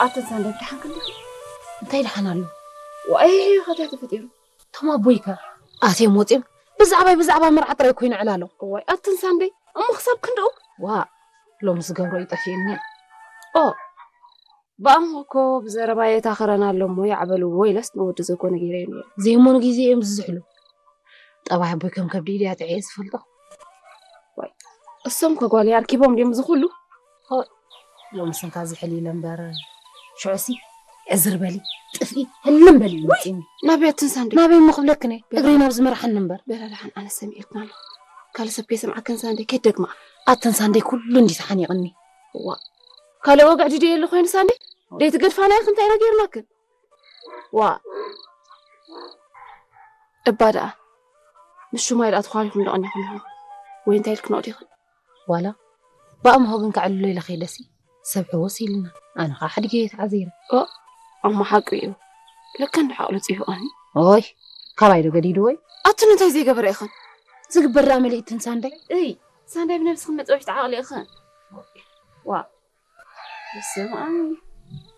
ኣተን ሳንደይ ደሓን ክንዲ? እንታይ ደሓን ኣሎ? ዋይ፣ ከታይ ተፈጢሩ? እቶም ኣቦይከ ኣትዮም ወፂኦም ብዛዕባይ ብዛዕባ መርዓ ጥራይ ኮይኑ ዕላሎ። ዋይ፣ ኣተን ሳንደይ እሞ ክሳብ ክንድኡ? ዋ፣ ሎሚ ዝገብሮ ይጠፍእኒ። ኦ፣ ብኣምሆ እኮ ብዘረባ የታኸረና ኣሎ እሞ ይዓበልዎ ኢለስ ንወዲ ዘኮነ ገይረ ነይረ። ዘይሞኑ ግዜ እዮም ዝዝሕሉ። ጠባይ ኣቦይ ከም ከብዲ ኢድያ ጥዕየ ዝፈልጦ። እሶም ከጓል ኣርኪቦም ድዮም ዝኹሉ? ሎሚ ስንካ ዝሕል ኢለ እምበር ሽዑሲ ዕዝር በሊ ጥፍኢ ህልም በሊ ይመፅኒ። ናበይ ኣተን ሳንደይ? ናበይ እሞ ክብለክን እየ እግረይ ናብ ዝመርሓኒ እምበር። በላ ደሓን ኣነ ሰሚዕልክን ኣለኹ። ካልእ ሰብ ከይሰምዓክን ሳንደይ ከይደግማ። ኣተን ሳንደይ ኩሉ እንዲ ተሓኒቕኒ። ዋ፣ ካልእ ወግዒ ድዮ የለ ኮይኑ ሳንደይ? ደይትገድፋና ኢኽን እንታይ ኢና ጌርናክን? ዋ፣ እባ ደኣ ምስ ሹማይ ደኣ ተዃሊኹም ደቐኒኹም ኢኹም ወይ እንታይ ኢልክን ዲኽን? ዋላ ብኣምሆ ግን ከዕልሎ ኢለ ከይደሲ ሰብ ሕወስ ኢልና። ኣነ ከዓ ሓዲገ እየ ተዓዚረ። ኣሞ ሓቂ እዩ። ለካ እንዶ ሓቕሉ ጽይፍቐኒ። ኦይ፣ ካባይ ዶ ገዲዱ ወይ? ኣቱን እንታይ ዘይገበረ ኢኽን? ዝግበር ደኣ መሊእትን ሳንደይ። እይ፣ ሳንደይ ብነብስኽን መጸወሽቲ ዓቕሊ ኢኽን። ዋ፣ በስመ ኣብ።